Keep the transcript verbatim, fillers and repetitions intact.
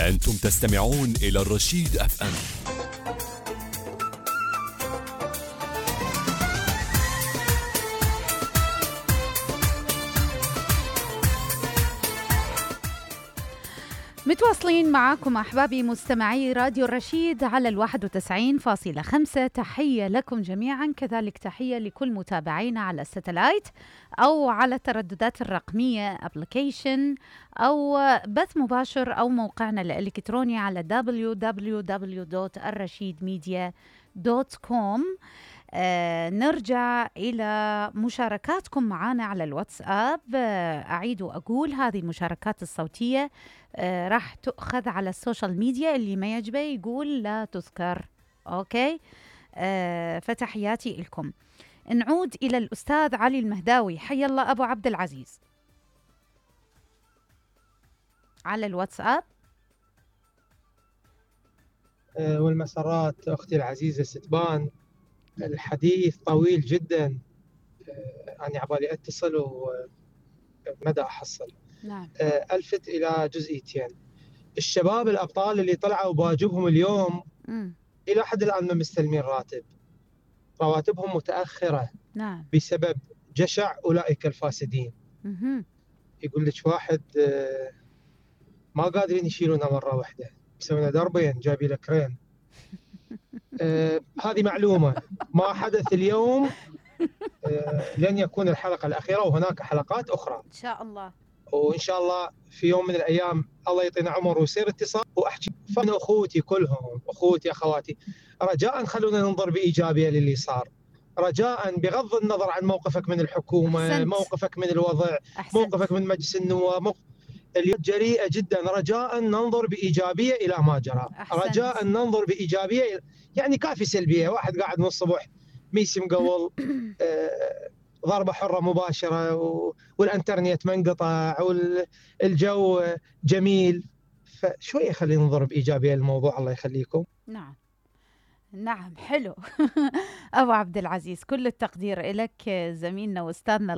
أنتم تستمعون إلى الرشيد أف أم. متواصلين معكم أحبابي مستمعي راديو الرشيد على الواحد وتسعين فاصلة خمسة. تحية لكم جميعا، كذلك تحية لكل متابعينا على الستلايت أو على الترددات الرقمية أبليكيشن أو بث مباشر أو موقعنا الإلكتروني على دبليو دبليو دبليو دوت الرشيد ميديا دوت كوم. آه نرجع إلى مشاركاتكم معنا على الواتساب. آه أعيد وأقول هذه المشاركات الصوتية آه راح تؤخذ على السوشيال ميديا، اللي ما يعجبه يقول لا تذكر. أوكي، آه فتحياتي لكم. نعود إلى الأستاذ علي المهداوي. حي الله أبو عبد العزيز على الواتساب. آه والمسارات أختي العزيزة ستبان، الحديث طويل جدا. أنا عبالي أتصل ومدى أحصل. نعم. ألفت إلى جزئيتين. الشباب الأبطال اللي طلعوا بواجبهم اليوم م. إلى حد الآن ما مستلمين راتب، رواتبهم متأخرة. نعم. بسبب جشع أولئك الفاسدين. م- يقول لك واحد ما قادرين يشيلونه مرة واحدة، يسوون دربين جايبين له كرين. آه هذه معلومة ما حدث اليوم. آه لن يكون الحلقة الأخيرة، وهناك حلقات أخرى إن شاء الله. وإن شاء الله في يوم من الأيام الله يعطينا عمر ويصير اتصال وأحكي. فأنا أخوتي كلهم، أخوتي أخواتي، رجاء خلونا ننظر بإيجابية للي صار. رجاء بغض النظر عن موقفك من الحكومة، أحسنت. موقفك من الوضع، أحسنت. موقفك من مجلس النواب، موقف... اليوم جريئة جدا. رجاء ننظر بإيجابية إلى ما جرى. أحسنت. رجاء ننظر بإيجابية إلى... يعني كافي سلبية. واحد قاعد من الصبح ميسي مقول آه... ضربة حرة مباشرة و... والانترنت منقطع والجو جميل. فشوية خلينا ننظر بإيجابية للموضوع. الله يخليكم. نعم نعم، حلو. أبو عبد العزيز، كل التقدير لك زميلنا واستاذنا